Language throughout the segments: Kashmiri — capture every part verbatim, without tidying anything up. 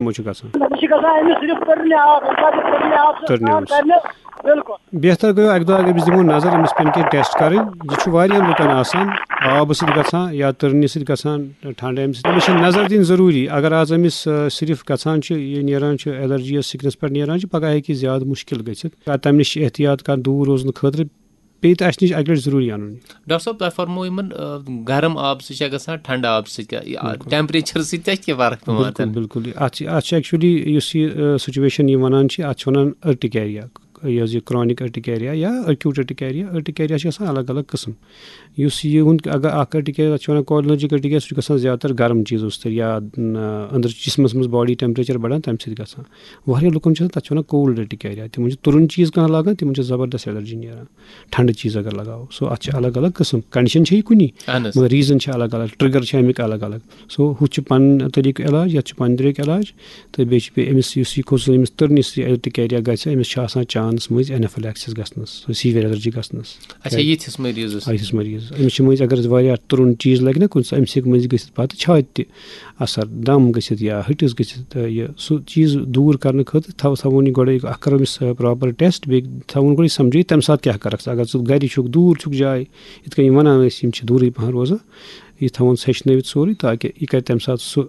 یِمو چھُ گژھان۔ أمِس چھِ گژھان، أمِس صرف تٔرنہِ آب، ییٚمہِ ساتہٕ یہِ تٔرنہِ آب چھُ تٔرنہِ آب۔ کرنہِ، بِلکُل۔ بہتر گوٚو اَکہِ دۄہ اگر أمِس دِمو نظر، أمِس پٮ۪ن کینٛہہ ٹیسٹ کَرٕنۍ۔ یہِ چھُ واریاہَن لُکَن آسان، آبہٕ سۭتۍ گژھان یا تٔرنہِ سۭتۍ گژھان، ٹھنڈٕ اَمہِ سۭتۍ۔ أمِس چھِ نظر دِنۍ ضروٗری۔ اگر آز أمِس، آ، صرف گژھان چھُ، یہِ نیران چھُ، الرجی یا سِکنَس پٮ۪ٹھ نیران چھُ، پَگاہ ہیٚکہِ یہِ زیادٕ مُشکِل گٔژھِتھ۔ تَمہِ نِش چھِ احتیاط کَرُن، دوٗر روزنہٕ خٲطرٕ۔ پیٚیہِ تہٕ اَسہِ نِش اَکہِ لَٹہِ ضروٗری اَنُن یہِ۔ ڈاکٹر صٲب، تۄہہِ فرموو یِمَن، آ، گرم آبہٕ سۭتۍ چھا گژھان، ٹھنڈٕ آبہٕ سۭتۍ کیٛاہ؟ یہِ، آ، بِلکُل۔ ٹیمپریچر سۭتۍ تہِ چھِ کینٛہہ فرق پٮ۪وان بِلکُل، تَمہِ؟ بِلکُل۔ یہِ، اَتھ چھِ، اَتھ چھِ actually یُس یہِ، آ، سُچویشن یہِ وَنان چھِ، اَتھ چھِ وَنان ارٹیکیریا۔ یہِ حظ یہِ کرونک ارٹیکیریا یا ایکیوٹ ارٹیکیریا۔ ارٹیکیریا چھِ آسان الگ الگ قٕسم۔ یُس یہِ ہُنٛد، اگر اَکھ ارٹیکیریا، تَتھ چھِ وَنان کولیرجک ارٹیکیریا، سُہ چھُ گژھان زیادٕ تر گرم چیٖزو سۭتۍ یا، آ، أنٛدرٕ جسمس منٛز باڈی ٹیمپریچر بڑان، تَمہِ سۭتۍ گژھان۔ واریاہ لُکن چھِ آسان، تَتھ چھِ وَنان کولڈ ارٹیکیریا۔ تِمن چھِ تُرُن چیٖز کانٛہہ لاگان، تِمن چھِ زبردست الرجی نیران۔ ٹھنڈٕ چیٖز اگر لگاوو، سو اَتھ چھِ الگ الگ قٕسم، کنڈیشن چھِ یہِ کُنی، اہن حظ۔ مگر ریٖزن چھِ الگ الگ، ٹرگر چھِ اَمِکۍ الگ الگ۔ سو ہُتھ چھُ پنُن طریٖقہٕ علاج، یَتھ چھُ پنٕنۍ طریٖقہٕ علاج۔ تہٕ بیٚیہِ چھِ بیٚیہِ أمِس، یُس یہِ خصوٗصی أمِس تٔرنِس یہِ ارٹیکیریا گژھِ، أمِس چھِ آسان چانس مٔنٛزۍ اینافیلیکسس گژھنس، سُہ سیٖویَر الرجی گژھنس۔ اچھا، یِتھِس مٔریٖضس؟ آ، یِتھِس مٔریٖضس۔ أمِس چھِ مٔنٛزۍ اگر أسۍ واریاہ تُرُن چیٖز لگہِ نا کُنہِ ساتہٕ، أمِس ہیٚکہِ مٔنٛزۍ گٔژھِتھ پتہٕ چھاتہِ تہِ اثر، دم گٔژھِتھ یا ہٹِس گٔژھِتھ، تہٕ یہِ سُہ چیٖز دوٗر کرنہٕ خٲطرٕ تھاو-، تھاوون یہِ گۄڈے اکھ کرو أمِس، آ، پراپر ٹیسٹ، بیٚیہِ تھاوون گۄڈے سمجھٲیِتھ تَمہِ ساتہٕ کیٛاہ کرکھ ژٕ۔ اگر ژٕ گرِ چھُکھ، دوٗر چھُکھ جاے، یِتھ کٔنۍ یِم ونان ٲسۍ، یِم چھِ دوٗرٕے پہن روزان، یہِ تھاوون سیٚچھنٲوِتھ سورُے، تاکہِ یہِ کرِ تَمہِ ساتہٕ سُہ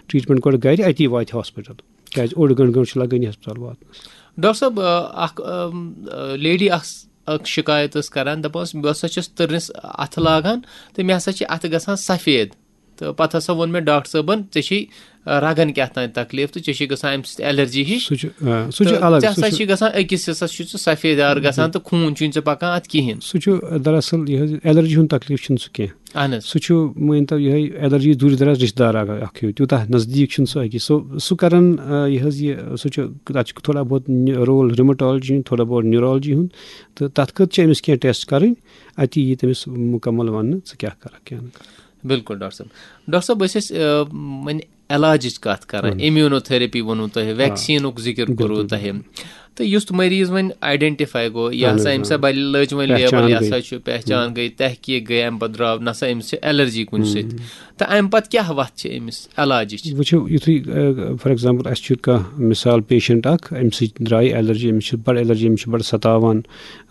ٹریٹمنٹ گۄڈٕ گرِ، اَتی واتہِ ہاسپٹل۔ کیٛازِ اوٚڑ گٲنٛٹہٕ، گٲنٛٹہٕ چھُ لگٲنی ہسپتال واتنس۔ ڈاکٹر صٲب، آ، اکھ، آم، آ، لیڈی اکھ س-، اکھ شکایت ٲس کران، دپان ٲس، بہٕ ہسا چھَس تٔرنِس اَتھٕ لاگان تہٕ مےٚ ہسا چھِ اَتھٕ گژھان سفید۔ تہٕ پتہٕ ہسا ووٚن مےٚ ڈاکٹر صٲبن، "ژےٚ چھِی، آ، رگن کیٛاہ تام تکلیف تہٕ ژےٚ چھِی گژھان اَمہِ سۭتۍ الرجی ہِش۔" سُہ چھُ، آ، سُہ چھُ تہٕ الگ، ژےٚ سُہ ہسا چھُ چھُ گژھان أکِس حصس چھُ ژٕ سفید دار گژھان تہٕ خوٗن چھُے نہٕ ژےٚ پکان اَتھ کِہیٖنۍ۔ سُہ چھُ دراصل یہِ حظ، الرجی ہُنٛد تکلیف چھُنہٕ سُہ کینٛہہ۔ اہن حظ۔ سُہ چھُ، مٲنۍ تو، یِہوٚے الرجی دوٗرِ دراز رشتہٕ دار اکھ، اکھ ہیوٗ، تیوٗتاہ نزدیٖک چھُنہٕ سُہ أکِس۔ سُہ، سُہ کران، آ، یہِ حظ یہِ، سُہ چھُ، تَتھ چھُ تھوڑا بہت نہِ-، رول rheumatology ہُنٛد، تھوڑا بہت neurology ہُنٛد، تہٕ تَتھ خٲطرٕ چھِ أمِس کینٛہہ ٹیسٹ کَرٕنۍ، اَتی یی تٔمِس مُکمل وَننہٕ ژٕ کیٛاہ کَرَکھ، کیٛاہ نہٕ کَرَکھ۔ بِلکُل ڈاکٹر صٲب۔ ڈاکٹر صٲب، أسۍ ٲسۍ، آ، وۄنۍ علاجٕچ کَتھ کَران، اہن حظ۔ Immunotherapy ووٚنوٕ تۄہہِ، آ۔ ویکسیٖنُک ذِکِر بِلکُل، کوٚروٕ تۄہہِ۔ بِلکُل۔ تہٕ یُس مریض وۄنۍ identify گوٚو، یہِ اہن ہسا حظ، أمِس آ۔ ہسا بَلہِ لٔج وۄنۍ پہچان label، یہِ گٔے۔ ہسا چھُ پہچان ہُم۔ گٔے، تحقیٖق گٔے، اَمہِ پَتہٕ درٛاو، نہ سا أمِس چھِ الرجی کُنہِ ہُم۔ سۭتۍ۔ تہٕ اَمہِ پَتہٕ کیٛاہ وَتھ چھِ أمِس علاجِچ؟ وٕچھِو، یُتھُے، آ، for example، اَسہِ چھُ کانٛہہ مِثال patient اَکھ، أمِس سۭتۍ درٛاے الرجی، أمِس چھِ بَڑٕ الرجی، أمِس چھِ بَڑٕ ستاوان،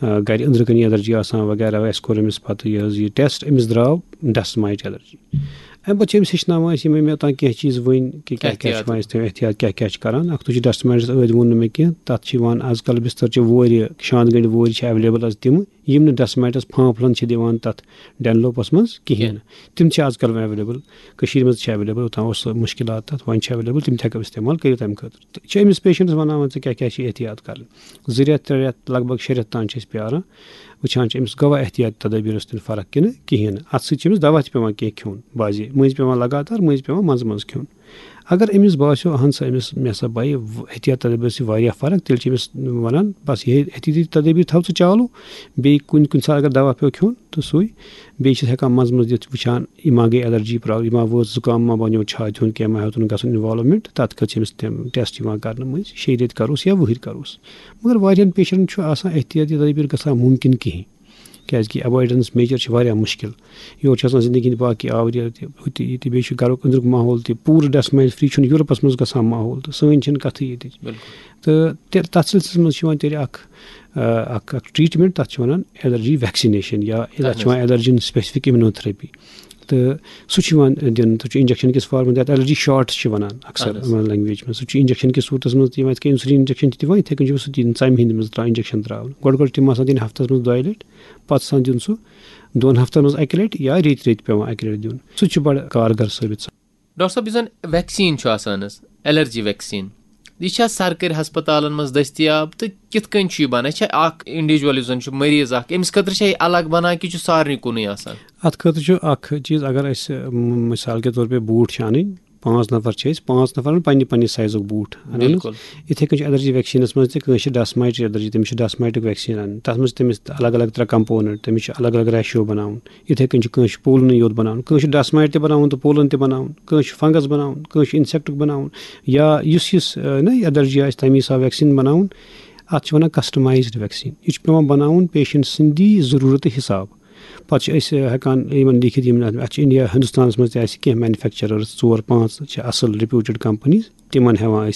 آ، گَرِ أنٛدرٕ کَنہِ الرجی آسان وغیرہ، اَسہِ کوٚر أمِس پَتہٕ یہِ حظ یہِ ٹیسٹ، أمِس درٛاو dust mite الرجی۔ اَمہِ پَتہٕ چھِ أمِس ہیٚچھناوان أسۍ یِمَے مےٚ اوٚتام کینٛہہ چیٖز ؤنۍ کہِ کیٛاہ کیٛاہ چھِ احتیاط۔ وۄنۍ أسۍ تھٲوِو احتیاط، کیٛاہ کیٛاہ چھِ کَران۔ اَکھ تُج dust mite ٲدۍ ووٚن نہٕ مےٚ کینٛہہ، تَتھ چھِ یِوان آز کَل بِستَر چہِ وورِ، شانٛد گٔنٛڈۍ وورِ چھِ available آز تِم، یِم نہٕ dust mite پھانٛپھ لَن چھِ دِوان تَتھ Dunlop منٛز کِہیٖنۍ۔ کینٛہہ۔ تِم چھِ آز کَل وۄنۍ available۔ کٔشیٖرِ منٛز چھِ available، اوٚتام اوس سُہ مُشکِلات تَتھ، وۄنۍ چھِ available، تِم تہِ ہٮ۪کو استعمال کٔرِتھ اَمہِ خٲطرٕ۔ تہٕ چھِ أمِس پیشنٹَس وَنان وۄنۍ ژٕ کیٛاہ کیٛاہ چھِ احتیاط کَرٕنۍ۔ زٕ رٮ۪تھ، ترٛےٚ رٮ۪تھ، لگ بگ شےٚ رٮ۪تھ تام چھِ أسۍ پیاران، وٕچھان چھِ أمِس گوٚوا احتیاط تدابیٖرَس تہِ فرق کِنہٕ کِہیٖنۍ نہٕ۔ اَتھ سۭتۍ چھِ أمِس دوا تہِ پٮ۪وان کینٛہہ کھیوٚن، بعضے مٔنٛزۍ پٮ۪وان لگاتار، مٔنٛزۍ پٮ۪وان منٛزٕ منٛزٕ کھیوٚن۔ اگر أمِس باسیو، اہن سا، أمِس، مےٚ ہسا بَیہِ و-، احتیاط تدابیٖر سۭتۍ واریاہ فرق، تیٚلہِ چھِ أمِس وَنان، بس یِہے احتیاطی تدابیٖر تھاو ژٕ چالوٗ، بیٚیہِ کُنہِ، کُنہِ ساتہٕ اگر دوا پیوٚو کھیوٚن تہٕ سُے، بیٚیہِ چھِس ہٮ۪کان منٛزٕ منٛزٕ دِتھ وٕچھان، یہِ ما گٔے الرجی پرابلم، یہِ ما وٲژ زُکام، ما بنیو چھاتہِ ہُنٛد کینٛہہ، ما ہیوٚتُن گژھُن involvement، تَتھ خٲطرٕ چھِ أمِس تِم ٹیسٹ یِوان کرنہٕ مٔنٛزۍ، شیٚیہِ رٮ۪تۍ کَروس یا وُہٕرۍ کَروس۔ مگر واریاہَن پیشنٹَن چھُ آسان احتیاطی تدابیٖر گژھان مُمکِن کِہیٖنۍ، کیٛازِکہِ avoidance measure چھِ واریاہ مُشکِل۔ یورٕ چھِ آسان زندگی ہِنٛدۍ باقٕے آوریت تہِ، ہُہ تہِ، یہِ تہِ، بیٚیہِ چھُ گَرُک أنٛدرُک ماحول تہِ، پوٗرٕ dust mite free چھُنہٕ یوٗرپَس منٛز گژھان ماحول، تہٕ سٲنۍ چھِنہٕ کَتھٕے ییٚتِچ۔ بِلکُل۔ تہٕ تہِ-، تَتھ سلسلس منٛز چھِ یِوان تیٚلہِ اَکھ، آ، اَکھ، اَکھ treatment، تَتھ چھِ وَنان allergy vaccination یا اَتھ چھِ اَہَن حظ۔ وَنان allergen specific immunotherapy۔ تہٕ سُہ چھُ یِوان دِنہٕ، سُہ چھُ injection کِس form-س، تَتھ allergy shots چھِ وَنان اَکثر اَہَن حظ۔ یِمَن language منٛز۔ سُہ چھُ injection کِس صوٗرتَس منٛز تہِ یِوان، یِتھ کٔنۍ insulin injection چھِ دِوان، یِتھَے کٔنۍ چھُ سُہ دِنہٕ ژَمہِ ہِنٛدِ منٛز ترٛاوان injection ترٛاوُن۔ گۄڈٕ گۄڈٕ چھِ تِم آسان دِنۍ ہفتَس منٛز دۄیہِ لَٹہِ، پَتہٕ چھِ آسان دیُن سُہ دۄن ہفتن منٛز اَکہِ لَٹہِ یا ریٚتۍ ریٚتۍ پٮ۪وان اَکہِ لَٹہِ دیُن۔ سُہ تہِ چھُ بَڑٕ کارگر ثٲبِت سَپدان۔ ڈاکٹر صٲب، یُس زَن ویکسیٖن چھُ آسان حظ، الرجی ویکسیٖن، یہِ چھا سرکٲرۍ ہسپتالن منٛز دٔستیاب تہٕ کِتھ کٔنۍ چھُ یہِ بَنان؟ یہِ چھا اکھ individual، یُس زَن چھُ مریض اکھ، أمِس خٲطرٕ چھا یہِ الگ بَنان کِنہٕ چھُ سارنٕے کُنُے آسان؟ اَتھ خٲطرٕ چھُ اَکھ چیٖز، اگر اَسہِ، م-، مِثال کے طور پہ بوٗٹھ چھِ اَنٕنۍ، پانٛژھ نفر چھِ أسۍ، پانٛژھ نفرن پننہِ پننہِ سایزُک بوٗٹھ اَنان۔ بِلکُل۔ یِتھَے کٔنۍ چھُ الرجی ویکسیٖنَس منٛز تہِ، کٲنٛسہِ چھِ dust mite الرجی، تٔمِس چھُ dust mite ویکسیٖن اَنُن۔ تَتھ منٛز چھِ تٔمِس الگ الگ ترٛےٚ component، تٔمِس چھُ الگ الگ ratio بَناوُن۔ یِتھَے کٔنۍ چھُ کٲنٛسہِ چھُ پولنٕے یوت بَناوُن، کٲنٛسہِ چھُ dust mite تہِ بَناوُن تہٕ پولن تہِ بَناوُن، کٲنٛسہِ چھُ fungus بَناوُن، کٲنٛسہِ چھُ insectُک بَناوُن، یا یُس یُس، آ، نہ، الرجی آسہِ، تَمی حساب ویکسیٖن بَناوُن۔ اَتھ چھِ وَنان customized vaccine۔ یہِ چھُ پٮ۪وان بَناوُن patient سٕنٛدی ضروٗرتہٕ حساب۔ پَتہٕ چھِ أسۍ ہٮ۪کان یِمَن لیکھِتھ، یِم اَتھ اَتھ چھِ اِنڈیا، ہِندُستانَس منٛز تہِ اَسہِ کینٛہہ مینوفیکچرٲرٕس، ژور پانٛژھ چھِ اَصٕل ریپیوٗٹِڈ کَمپٔنیٖز، تِمَن ہٮ۪وان